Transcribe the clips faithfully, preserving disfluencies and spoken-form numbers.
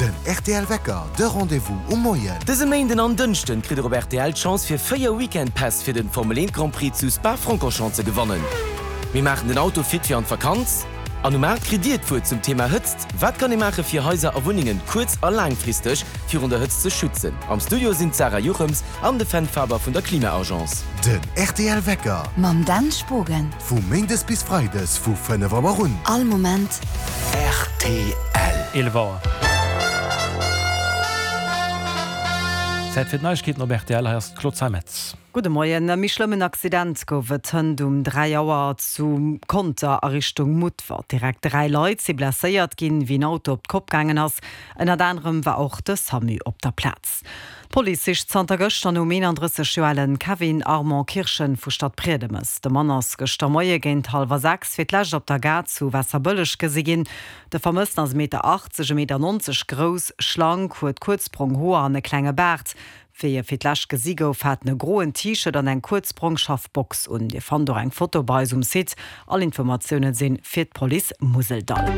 Den rtl Wecker, de Rendez-vous um Moien. Dëse Méinden an Dënschden kritt der op rtl d'Chance fir véier Weekend Päss fir den Formel eent Grand Prix zu Spa-Francorchamps ze gewannen. Mir maachen den Auto fit fir an d'Vakanz an um aacht kritt dir d'Wuert zum Thema Hëtzt. Wat kann ee maache fir Haiser a Wunnengen kuerz a laangfristeg virun der Hëtzt ze schützen? Am Studio sinn d'Sarah Juchems an de Fenn Faber vun der Klima-Agence. Den rtl Wecker. Mam Dan Spogen. Vu Méindes bis Freides vu fënnef Auer un. All Moment. Rtl. Eelef Auer. Zäit fir d'Neiegkeeten op rtl. Hei ass d'Claude Zeimetz. Gudde Moien. E méi schlëmmen Accident gouf et hënt um dräi Auer zu Conter a Richtung Mutfert. Direkt dräi Leit si blesséiert ginn, wéi en Auto op d'Kopp gaangen ass. Ënnert anerem war och de Samu op der Plaz. D'Police sicht zanter gëschter nom eenandrësseg Joer alen Kevin Armand Kirchen vu Stadbriedemes. De Mann ass gëschter Moie géint hallwer sechs fir d'lescht op der Gare zu Waasserbëlleg gesi ginn. De Vermëssten ass e Meter achtzeg, e Meter nonzeg grouss, schlank, huet kuerz brong Hoer an e klenge Baart. Wéi e fir d'lescht gesi gouf, hat en e groen T-Shirt an eng kuerz brong scharf Box un. Dir fannt och eng Foto bei eis um Site. All Informatioune si fir d'Police Museldall.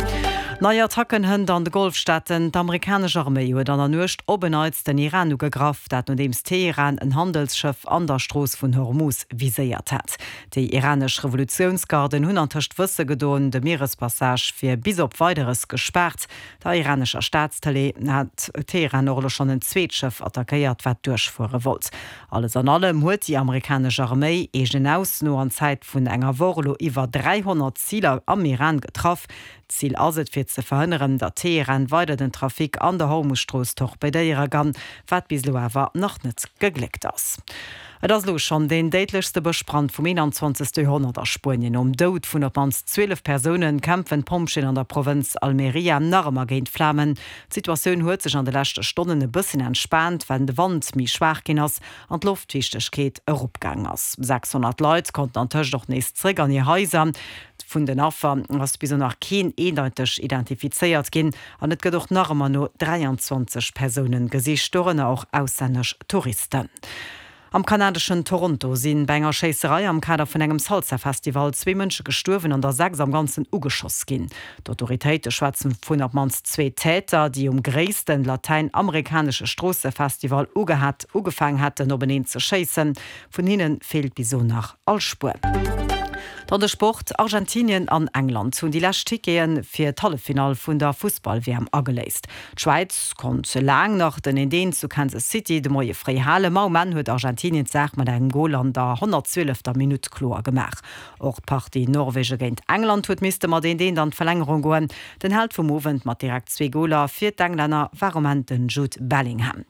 Nei Attacken hënt an de Golfstaaten. D'amerikanesch Arméi huet an der Nuecht op en Neits den Iran ugegraff, dat nodeems Teheran en Handelsschëff an der Strooss vun Hormuz viséiert hat. Déi iranesch Revolutiounsgarden hunn antëscht wësse gedoen, de Mierespassage wier bis op Weideres gespaart. Der iranescher Staatstëlee hat Teheran och elo schonn en zweet Schëff attackéiert, wat duerchfuere wollt. Alles an allem huet déi amerikanesch Arméi eegenen Ausso no an Zäit vun enger Woch elo iwwer dräihonnert Ziler am Iran getraff. Zil ass et, fir ze verhënneren, datt Teheran weider den Trafic an der Hormusstrooss torpedéiere kann, wat bis elo awer nach net gegléckt ass. Et ass elo schonn deen déidlechste Bëschbrand vum eenanzwanzegste Joerhonnert a Spuenien. Nom Doud vun op d'mannst zwielef Persoune kämpfen d'Pompjeeën an der Provënz Almería nach ëmmer géint d'Flamen. D'Situatioun huet sech an de leschte Stonnen e bësschen entspaant, well de Wand méi schwaach ginn ass an d'Loftfiichtegkeet eropgaang ass. sechshonnert Leit konnten antëscht och nees zréck an hir Haiser. Vun den Affer ass bis elo nach keen eendeiteg identifizéiert ginn an et gëtt och nach ëmmer no dräianzwanzeg Persoune gesicht, dorënner och auslännesch Touristen. Am kanadeschen Toronto si bei enger Schéisserei am Kader vun engem Salsa-Festival zwee Mënsche gestuerwen an der sechs am Ganzen ugeschoss ginn. D'Autoritéite schwätzen vun op d'mannst zwee Täter, déi um gréissten latäinamerikanesche Stroossefestival ugehat ugefaangen hätten openeen ze schéissen. Vun hinne feelt bis elo nach all Spuer. Dann de Sport, Argentinien an England hunn déi lescht Tickete fir d'Halleffinall vun der Fussball-W M ageléist. D'Schwäiz konnt laang nach den eent eent zu Kansas City de Moie fréi halen, ma um Enn huet Argentinien d'Saach mat engem Gol an der honnertzwielefter Minutt kloer gemaach. Och d'Partie Norwege géint England huet misste mat eent eent an d'Verlängerung goen. Den Held vum Owend mat direkt zwee Goler fir d'Englänner war um Enn den Jude Bellingham.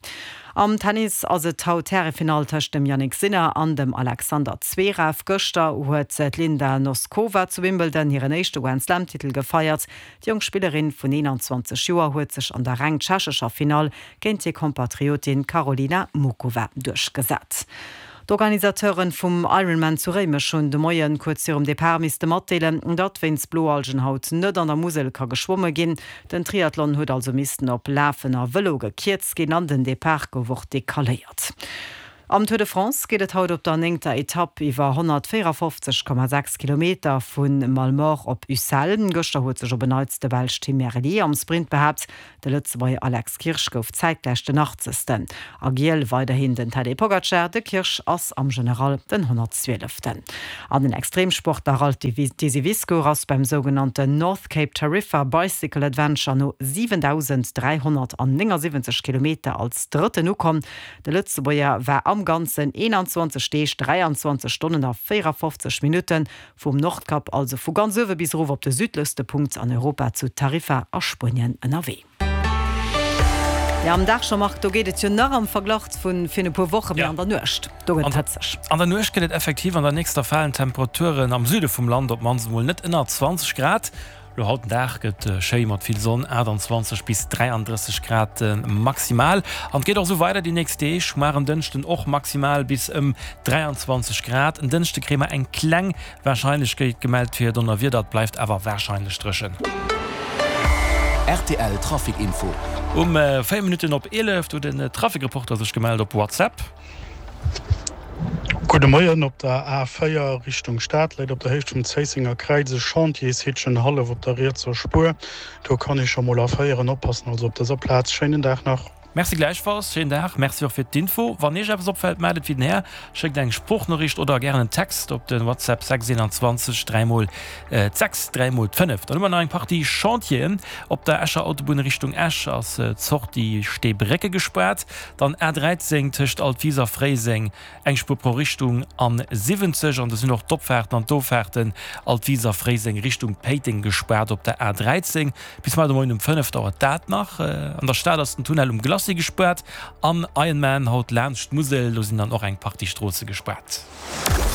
Am Tennis ass et haut d'Härefinall tëscht dem Jannik Sinner an dem Alexander Zverev. Gëschter huet d'Linda Noskova zu Wimbledon hiren éischte Grand-Slam-Titel gefeiert. Déi jonk Spillerin vun eenanzwanzeg Joer huet sech an der reng tschechescher Finall géint hir Kompatriotin Karolina Muchova duerchgesat. D'Organisateuren vum Ironman zu Réimech hunn de Moien kuerz virum Depart misste matdeelen, datt wéinst Bloalgen haut net an der Musel ka geschwomme ginn. Den Triathlon huet also missten op Lafen a Vëlo gekierzt ginn an den Depart gouf och decaléiert. Am Tour de France geet et haut op der néngter Etapp iwwer honnertvéierafofzeg Komma sechs Kilometer vu Malemort op Ussel. Gëschter huet sech op en Neits de Belsch Tim Merlier am Sprint behaapt. De Lëtzebuerger Alex Kirsch gouf zäitgläich den achtzegsten. A Giel weiderhin den Tadej Pogacar, de Kirsch ass am General den honnertzwieleften. An den Extremsportler Ralph Desiviscour ass beim sougenannten North Cape Tarifa Bicycle Adventure no siwentausend dräihonnertnéngasiwwenzeg Kilometer als Drëtten ukomm. De Lëtzebuerger war am Ganzen eenanzwanzeg Deeg, dräianzwanzeg Stonnen a véierafofzeg Minutten vum Nordkap, also vu ganz uewe bis erof op de südlechste Punkt an Europa zu Tarifa a Spuenien ënnerwee. Jo, am Dag scho, Marc, do geet et jo nach am Verglach vu virun e puer Woche, mee an der Nuecht, do gëtt et hëtzeg. An der Nuecht gëtt et effektiv an der nächster falen d'Temperaturen am Süde vum Land op d'mannst emol net ënner zwanzeg Grad. Lo haut den Dag gëtt schéi mat vill Sonn, aachtanzwanzeg bis dräiandrësseg Grad maximal. An et geet och esou weider déi nächst Deeg, mar en Dënschden och maximal bis ëm dräianzwanzeg Grad. En Dënschde kréie mer eng kleng Warscheinlechkeet gemellt fir Donnerwieder, et bleift awer warscheinlech dréchen. Rtl Trafic Info. Um véier Minutten op eelef huet den Trafic-Reporter sech gemellt op WhatsApp. Gudde Moien, Op der A véier Richtung Stad läit op der Héicht vum Zéissenger Kräiz e Chantiershitchen hallef op der rietser Spuer. Do kann ee scho mol erféieren. Oppassen also op dëser Plaz. Schéinen Dag nach. Merci gläichfalls, schéinen Dag. Merci och fir d'Info. Wann Iech eppes opfält, mellt et wéi den Här. Schéckt eng Sproochnoriicht oder gären en Text op de WhatsApp sechs eenanzwanzeg dräi mol d'sechs dräi mol d'fënnef. Dann hu mer nach eng Partie Chantieren. Op der Escher Autobunn Richtung Esch ass d'Sortie Steebrécke gespaart. Dann A dräizéng tëscht Altwis a Fréiseng, eng Spuer pro Richtung an siwwenzeg. An do sinn och d'Opfaarten an d'Offaarten Altwis a Fréiseng Richtung Péiteng gespaart op der A dräizéng. Bis mar de Moien um fënnef dauert dat nach. An der Stad ass den Tunnel um Glacis gespaart an Ironman haut laanscht d'Musel, do sinn dann och eng Partie Stroosse gespaart.